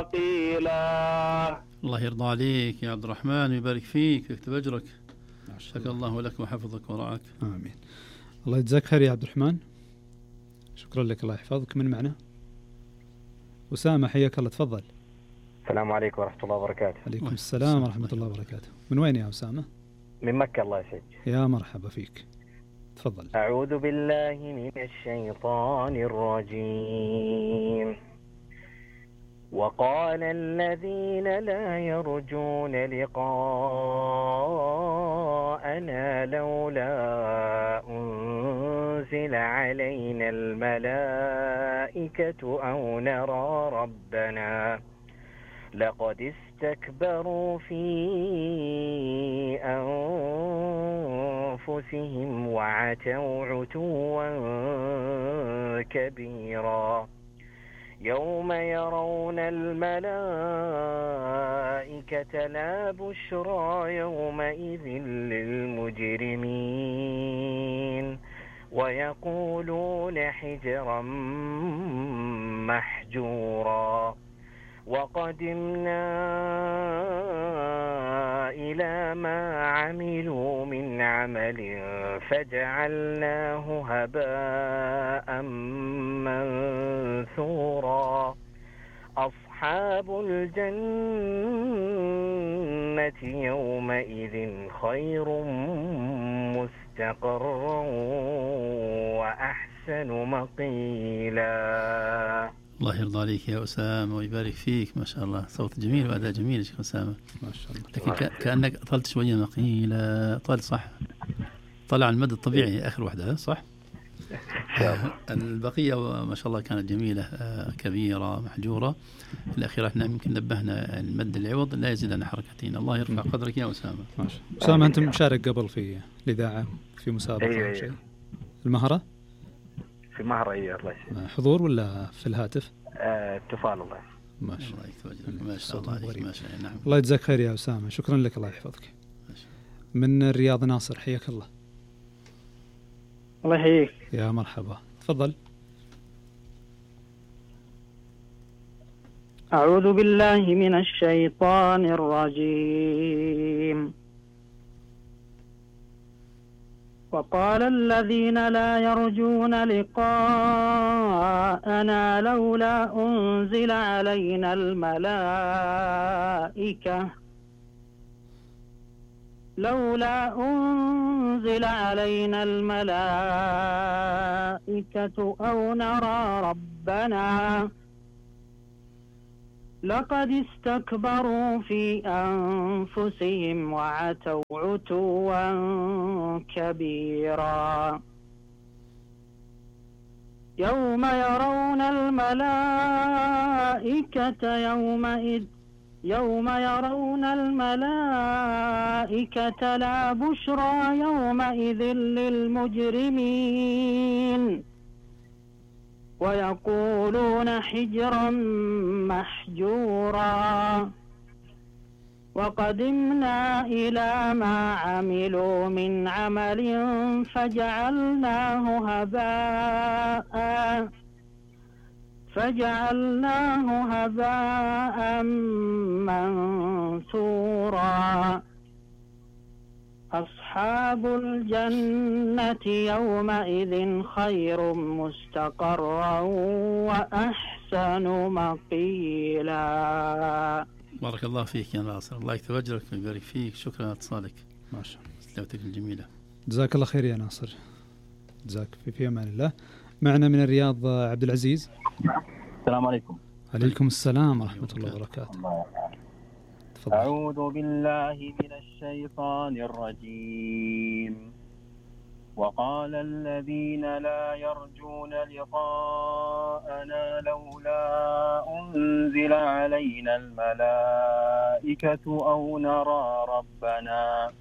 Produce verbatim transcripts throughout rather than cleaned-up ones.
قيلا. الله يرضى عليك يا عبد الرحمن ويبارك فيك ويكتب أجرك. شكر الله لك وحفظك ورعاك. آمين. الله يجزاك خير يا عبد الرحمن، شكرا لك، الله يحفظك. من معنا؟ أسامة، حياك الله، تفضل. السلام عليكم ورحمة الله وبركاته. عليكم السلام ورحمة الله وبركاته. من وين يا أسامة؟ من مكة، الله يسعدك. يا مرحبا فيك، تفضل. أعوذ بالله من الشيطان الرجيم. وقال الذين لا يرجون لقاءنا لولا أنزل علينا الملائكة أو نرى ربنا لقد استكبروا في أنفسهم وعتوا عتوا كبيرا. يوم يرون الملائكة لا بشرى يومئذ للمجرمين ويقولون حجرا محجورا. وقدمنا إلى ما عملوا من عمل فجعلناه هباء منثورا. أصحاب الجنة يومئذ خير مستقرا وأحسن مقيلا. الله يرضى عليك يا أسامة ويبارك فيك، ما شاء الله، صوت جميل وأداء جميل يا شيخ أسامة، ما شاء الله. لكن كأنك طلت شوية مقيلة. طال صح، طلع المدى الطبيعي آخر واحدة صح؟ البقية ما شاء الله كانت جميلة، كبيرة محجورة. الأخيرة احنا يمكن نبهنا المد العوض لا يزيد عن حركتين. الله يرفع قدرك يا أسامة. ما شاء الله. أسامة، أنت مشارك قبل في الإذاعة في مسابقة أيوة أو شيء؟ أيوة. المهرة؟ في مهرة، أيوة الله يسلمك. حضور ولا في الهاتف؟ آه، اتصال. الله ما شاء الله. ما شاء الله عليك. ما شاء الله. نعم. الله يجزاك خير يا أسامة، شكرا لك، الله يحفظك. من الرياض ناصر، حياك الله. الله يحييك. يا مرحبا، تفضل. أعوذ بالله من الشيطان الرجيم. وقال الذين لا يرجون لقاءنا لولا أنزل علينا الملائكة لولا أنزل علينا الملائكة أو نرى ربنا لقد استكبروا في أنفسهم وعتوا عتوا كبيرا. يوم يرون الملائكة يومئذ يوم يرون الملائكة لا بشرى يومئذ للمجرمين ويقولون حجرا محجورا. وقدمنا إلى ما عملوا من عمل فجعلناه هباء فجعلناه هباء منثورا. أصحاب الجنة يومئذ خير مستقرا وأحسن مقيلا. بارك الله فيك يا ناصر، الله يكتب أجرك ويبارك فيك. شكرا لاتصالك. ما شاء الله، تلاوتك الجميلة. جزاك الله خير يا ناصر، جزاك في في أمان الله. معنا من الرياض عبد العزيز. السلام عليكم. عليكم السلام ورحمة الله وبركاته. أعوذ بالله من الشيطان الرجيم. وقال الذين لا يرجون لقاءنا لولا أنزل علينا الملائكة أو نرى ربنا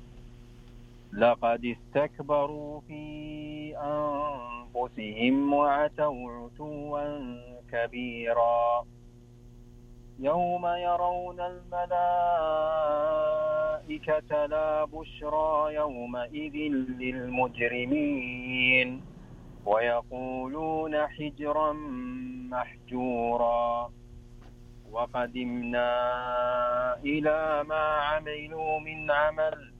لقد استكبروا في أنفسهم وعتوا عتوا كبيرا. يوم يرون الملائكة لا بشرى يومئذ للمجرمين ويقولون حجرا محجورا. وقدمنا إلى ما عملوا من عمل